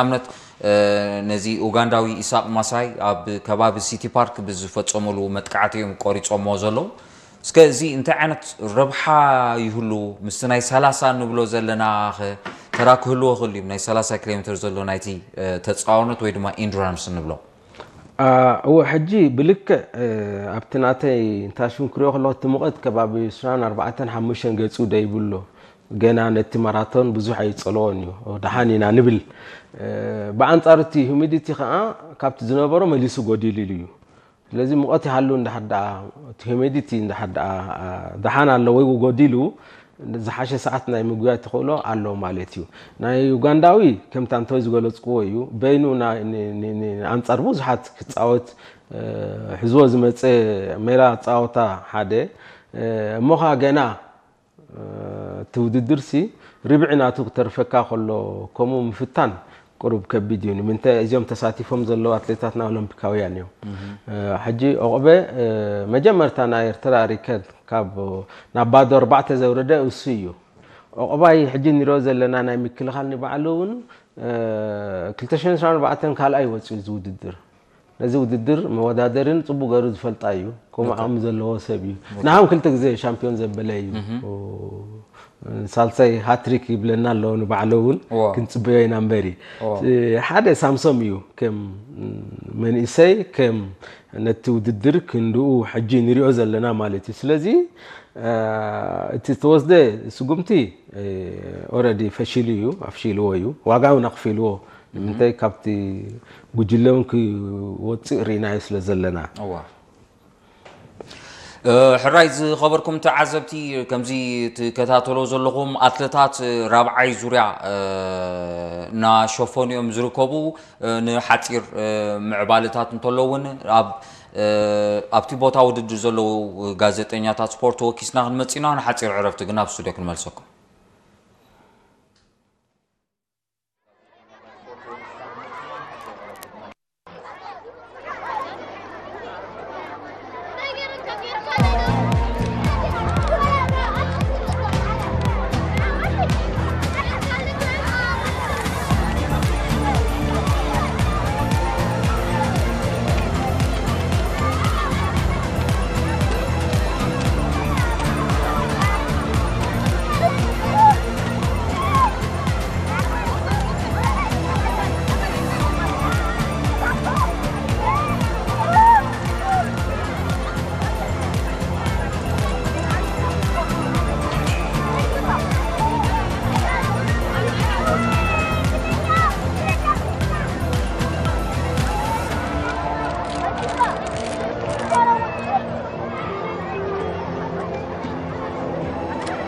ኣብነት ነዚ ኡጋንዳዊ ኢሳቅ ማሳይ ኣብ ከባቢ ሲቲ ፓርክ ብዝፈጸመሉ መጥቃዕቲ እዮም ቆሪጾሞ ዘለዉ። እስከ እዚ እንታይ ዓይነት ረብሓ ይህሉ? ምስቲ ናይ ሰላሳ ንብሎ ዘለና ኸ ተራ ክህልዎ ክእል እዩ? ናይ ሰላሳ ኪሎ ሜትር ዘሎ ናይቲ ተጻዋኖት ወይ ድማ ኢንዱራንስ ንብሎ። እወ፣ ሕጂ ብልክዕ ኣብቲ ናተይ እንታሽም ክሪኦ ከለኩ እቲ ሙቐት ከባቢ ዕስራን ኣርባዕተን ሓሙሽተን ገጹ ደይብሎ። ገና ነቲ ማራቶን ብዙሕ ኣይጸለዎን እዩ። ደሓን ኢና ንብል። ብኣንጻሩ እቲ ሁሚዲቲ ከዓ ካብቲ ዝነበሮ መሊሱ ጎዲሉ ኢሉ እዩ። ስለዚ ሙቐት ይሃሉ እንዳሓር ደኣ፣ እቲ ሁሚዲቲ እንዳሓር ደኣ ደሓን ኣሎ ወይ ጎዲሉ፣ ዝሓሸ ሰዓት ናይ ምግባይ ተኽእሎ ኣሎ ማለት እዩ። ናይ ዩጋንዳዊ ከምታ እንተ ዝገለጽክዎ እዩ። በይኑ ኣንጻር ብዙሓት ክጻወት ሕዝዎ ዝመፀ ሜላ ፃወታ ሓደ እሞ ኸዓ ገና እቲ ውድድር ሲ ርብዒ ናቱ ክተርፈካ ከሎ ከምኡ ምፍታን ቅሩብ ከቢድ እዩ። ንምንታይ እዚኦም ተሳቲፎም ዘለዉ ኣትሌታትና ኦሎምፒካውያን እዮም። ሕጂ ዑቕበ መጀመርታ ናይ ኤርትራ ሪከርድ ካብ ናብ ባዶ ኣርባዕተ ዘውረደ እሱ እዩ። ዑቕባይ ሕጂ ንሪኦ ዘለና ናይ ምክልኻል ንባዕሉ እውን ክልተ ሽሕን ዕስራን ኣርባዕተን ካልኣይ ወፂኡ እዚ ውድድር። ነዚ ውድድር መወዳደርን ጽቡቅ ገይሩ ዝፈልጣ እዩ። ከምኡ ዓቕሚ ዘለዎ ሰብ እዩ። ንሃም ክልተ ግዜ ሻምፒዮን ዘበለ እዩ። ሳልሳይ ሃትሪክ ይብለና ኣሎ ንባዕሉ እውን። ክንጽበዮ ኢና እምበሪ ሓደ ሳምሶም እዩ። ከም መንእሰይ ከም ነቲ ውድድር ክንድኡ ሕጂ ንሪኦ ዘለና ማለት እዩ። ስለዚ እቲ ዝተወስደ ስጉምቲ ኦረዲ ፈሺሉ እዩ፣ ኣፍሺልዎ እዩ። ዋጋ እውን ኣኽፊልዎ። ንምንታይ ካብቲ ጉጅለ እውን ክወፅእ ርኢናዮ ስለ ዘለና። ሕራይ ዝኸበርኩም ተዓዘብቲ፣ ከምዚ ትከታተሎ ዘለኹም ኣትለታት ራብዓይ ዙርያ እናሸፈኑ እዮም ዝርከቡ። ንሓፂር ምዕባለታት እንተሎ እውን ኣብቲ ቦታ ውድድር ዘለዉ ጋዜጠኛታት ስፖርት ተወኪስና ክንመፅእ ኢና። ንሓፂር ዕረፍቲ ግን ኣብ ስቱድዮ ክንመልሰኩም።